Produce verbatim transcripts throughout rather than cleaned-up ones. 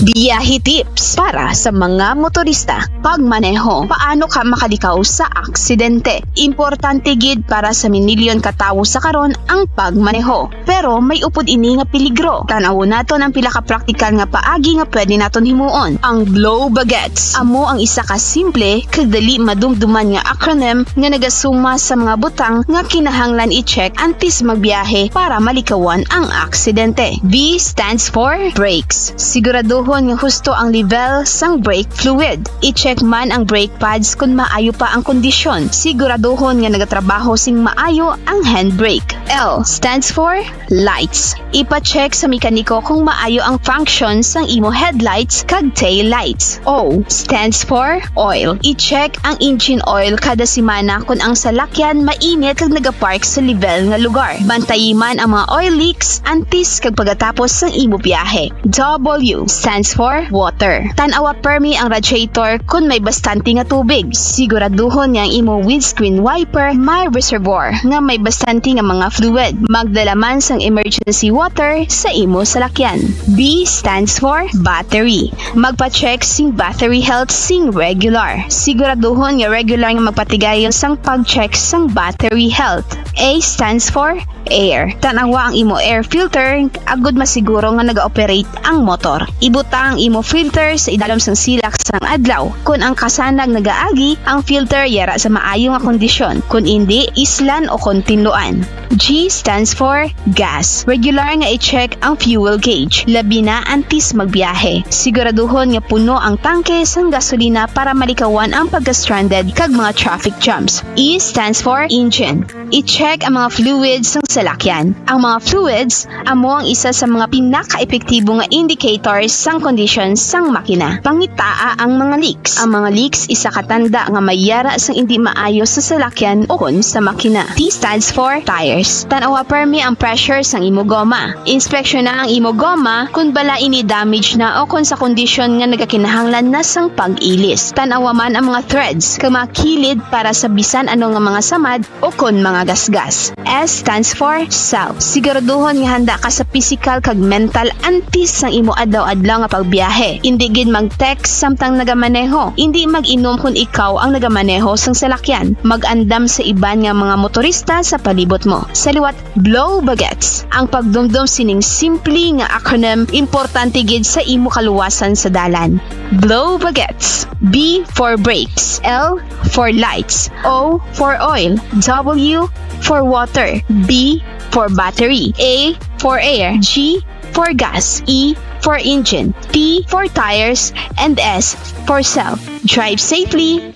Biyahe tips para sa mga motorista. Pagmaneho. Paano ka makalikaw sa aksidente? Importante gid para sa minilyon ka tawo sa karon ang pagmaneho. Pero may upod ini nga peligro. Tan-awon naton ang pila ka praktikal nga paagi nga pwede naton himuon. Ang blow bagets. Amo ang isa ka simple kag dali madumduman nga acronym nga nagasuma sa mga butang nga kinahanglan i-check antes magbiyahe para malikawan ang aksidente. B stands for brakes. Siguraduhon nga husto ang level sang brake fluid. I-check man ang brake pads kon maayo pa ang kondisyon. Siguraduhon nga nagatrabaho sing maayo ang handbrake. L stands for lights. Ipa-check sa mekaniko kung maayo ang function sang imo headlights kag tail lights. O stands for oil. I-check ang engine oil kada semana kon ang salakyan mainit kag nagapark sa level nga lugar. Bantayi man ang mga oil leaks antes kag pagkatapos sang imo biyahe. W stands for water. Tan-awa permi ang radiator kon may bastante nga tubig. Siguraduhon nga ang imo windscreen wiper may reservoir nga may bastante nga mga fluid. Magdala man sang emergency water sa imo salakyan. B stands for battery. Magpa-check sing battery health sing regular. Siguraduhon nga regular nga magpatigayon sang pag-check sang battery health. A stands for air. Tan-awa ang imo air filter agod masiguro nga nag-ooperate ang motor. Ibutang ang imo filter sa idalom sang silak sang adlaw. Kon ang kasanag nagaagi, ang filter yara sa maayo nga kondisyon. Kon indi, islan o kon tinluan. G stands for gas. Regular nga i-check ang fuel gauge, labi na antes magbiyahe. Siguraduhon nga puno ang tangke sang gasolina para malikawan ang pagka-stranded kag mga traffic jams. E stands for engine. I-check ang mga fluids sang salakyan. Ang mga fluids amo ang isa sa mga pinaka-epektibo nga indicators sang kondisyon sang makina. Pangitaa ang mga leaks. Ang mga leaks isa ka tanda nga may yara sang indi maayo sa salakyan ukon sa makina. T stands for tires. Tan-awa permi ang pressure sang imo goma. Inspeksyona ang imo goma kon bala ini damage na ukon sa kondisyon nga nagakinahanglan na sang pag-ilis. Tan-awa man ang mga threads kag mga kilid para sa bisan ano nga mga samad ukon mga gasgas. S stands for self. Siguraduhon nga handa ka sa pisikal kag mental antes sang imo adlaw-adlaw nga pagbiyahe. Indi gid mag-text samtang nagamaneho. Indi mag-inom kon ikaw ang nagamaneho sang salakyan. Mag-andam sa iban nga mga motorista sa palibot mo. Sa liwat, blow bagets. Ang pagdumdom sining simple nga acronym importante gid sa imo kaluwasan sa dalan. Blow bagets. B for brakes. L for lights. O for oil. W for water. B for battery. A for air. G for gas. E for engine. T for tires. And S for self. Drive safely.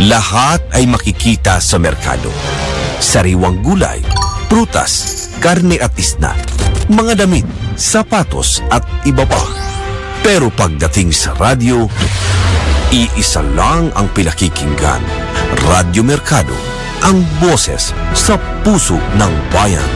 Lahat ay makikita sa merkado. Sariwang gulay, prutas, karne at isda, mga damit, sapatos at iba pa. Pero pagdating sa radyo, iisa lang ang pinakikinggan. Radyo Merkado, ang boses sa puso ng bayan.